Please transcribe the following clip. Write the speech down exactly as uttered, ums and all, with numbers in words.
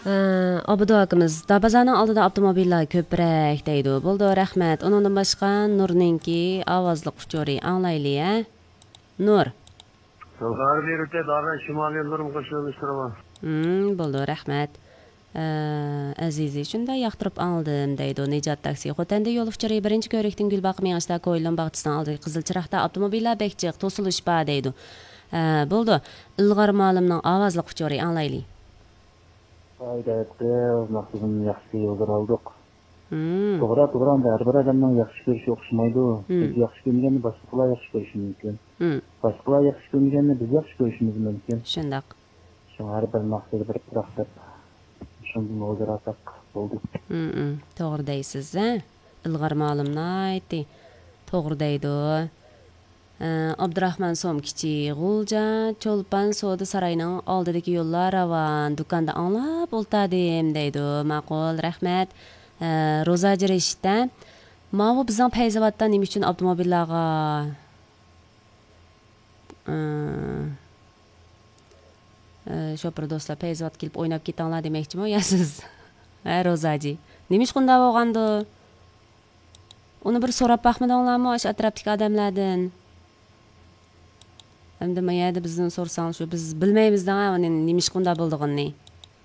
ئابدۇ ئاكىمىز، دابازارنىڭ ئالدىدا ئاپتوموبىللار كۆپرەك دەيدۇ. بولىدۇ، رەھمەت. ئۇنىڭدىن باشقا نۇرنىڭكى ئاۋازلىق ئۇچۇرى ئاڭلايلى، ھە؟ نۇر. يوللار بېرىدۇ، دابا شىمال يوللىرىمۇ قوشۇلۇشتۇرۇۋال. ھىم، بولىدۇ، رەھمەت. ئە، ئەزىزى، شۇنداق ياقتۇرۇپ ئاڭلىدىم دەيدۇ. نىجات تاكسى، خوتەندە يول ئۇچۇرى، بىرىنچى كۆۋرۈكتىن گۈلباغقا مېڭىشتا كويلۇن باغچىسىنىڭ ئالدىدىكى قىزىل چىراغدا ئاپتوموبىللار بەك جىق، توسۇلۇش بار دەيدۇ. ئە، بولىدۇ. ئىلغار مالىمنىڭ ئاۋازلىق ئۇچۇرى ئاڭلايلى. ھايدەپ قىز، مەقسىتىمنى ياخشى يولدىن ئالدۇق. ھىم. توغرا، توغرا، ئەمدى ھەر بىر ئادەمنىڭ ياخشى كۆرۈشى ئوخشىمايدۇ. ھىم. بىز ياخشى كۆرمىگەننى باشقىلار ياخشى كۆرۈشى مۇمكىن. ھىم. باشقىلار ياخشى كۆرمىگەننى بىز ياخشى كۆرۈشىمىز مۇمكىن. شۇنداق. شۇڭا ھەر بىر مەقسەت بىر پۇراق دەپ، شۇندىن ھۇزۇر ئالساق بولدى. ھىم، ھىم. توغرا دەيسىز، ھە؟ ئىلغار مالىم ناھايىتى توغرا دەيدۇ. ئابدۇراخمان سومكىچى، غۇلجا چولپان سودا ساراينىڭ ئالدىدىكى يوللار راۋان، دۇكاندا ئاڭلاپ ئولتۇردۇم دەيدۇ. ماقۇل، رەھمەت. روزاجى رېشىت، ماۋۇ بىزنىڭ پەيزاۋاتتا نېمە ئۈچۈن ئاپتوموبىللارغا، شوپۇر دوستلار، پەيزاۋاتقا كېلىپ ئويناپ كېتىڭلار دېمەكچىمۇ يا سىز؟ ھە، روزاجى، نېمە ئىش قۇنداق بولغاندۇ؟ ئۇنى بىر سوراپ باقمىدىڭلارمۇ ئاشۇ ئەتراپتىكى ئادەملەردىن؟ ئەمدى ما يەردە بىزدىن سورىساڭ، شۇ بىز بىلمەيمىز دەڭ، ئۇنى نېمە ئىش قۇنداق بولىدىغىنىنى.